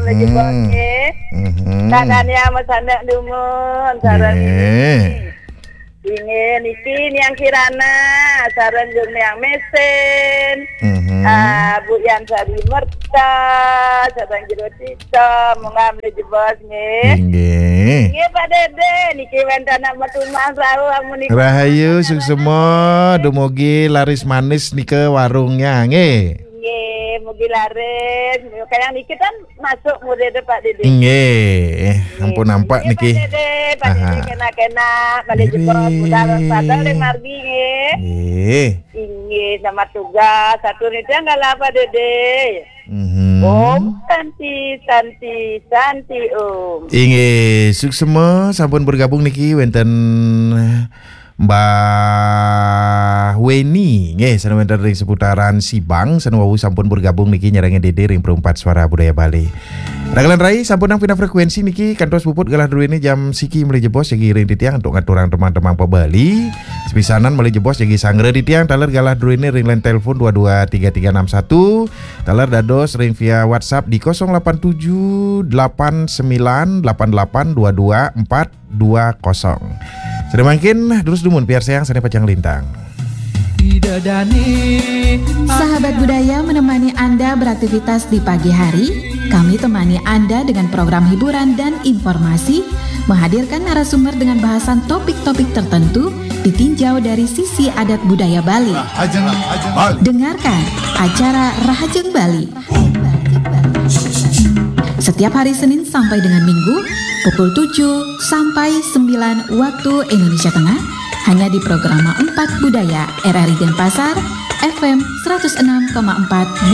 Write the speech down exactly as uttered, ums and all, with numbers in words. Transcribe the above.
Lagi bos nggih. Mhm. Kakak Niang Mas Anak Dumun, sareng nggih. Inggih niki Niang Kirana, sareng Jung Niang Mesin. Mhm. Ah, Bu Yan Sari Merta, sareng Jero Tito, munggah mligi jebos nggih. Inggih. Nggih Pak Dede, niki wénten anak metu Mas Rau amun niki. Rahayu, suksema, dumugi laris manis nika warungnya nggih. Nggih, mugi laris. Kayang niki kan masuk murid Pak Dede. Nggih, ampun nampak niki. Pak Dede, Pak Dede kena-kena balik jebos budal padahal ring margi nggih. Nggih. Inggih, selamat tugas. Satu niki galah Pak Dede. Mhm. Om Santi, Santi, Santi Om. Inggih, suksema sampun bergabung niki wénten Mbah Weni nggih, sane wénten ring seputaran Sibang, sane wau sampun bergabung niki nyarengin Dede ring Perumpat Suara Budaya Bali. Rakelan rai sampun nang pindah frekuensi niki kantos puput galah druene jam siki mligi jebos jagi ring titiang antuk ngaturang temang-temang pa Bali. Sepisanan mligi jebos jagi sanggra titiang taler galah druene ring line telepon dua dua tiga tiga enam satu, taler dados ring via WhatsApp di kosong lapan tujuh delapan sembilan delapan delapan dua dua empat dua kosong. Sane mangkin, durus dumun piarsayang sane pacang lintang. Sahabat budaya menemani Anda beraktivitas di pagi hari. Kami temani Anda dengan program hiburan dan informasi, menghadirkan narasumber dengan bahasan topik-topik tertentu, ditinjau dari sisi adat budaya Bali. Dengarkan acara Rahajeng Bali setiap hari Senin sampai dengan Minggu pukul tujuh sampai sembilan waktu Indonesia Tengah, hanya di Programa empat Budaya R R I Denpasar, F M seratus enam koma empat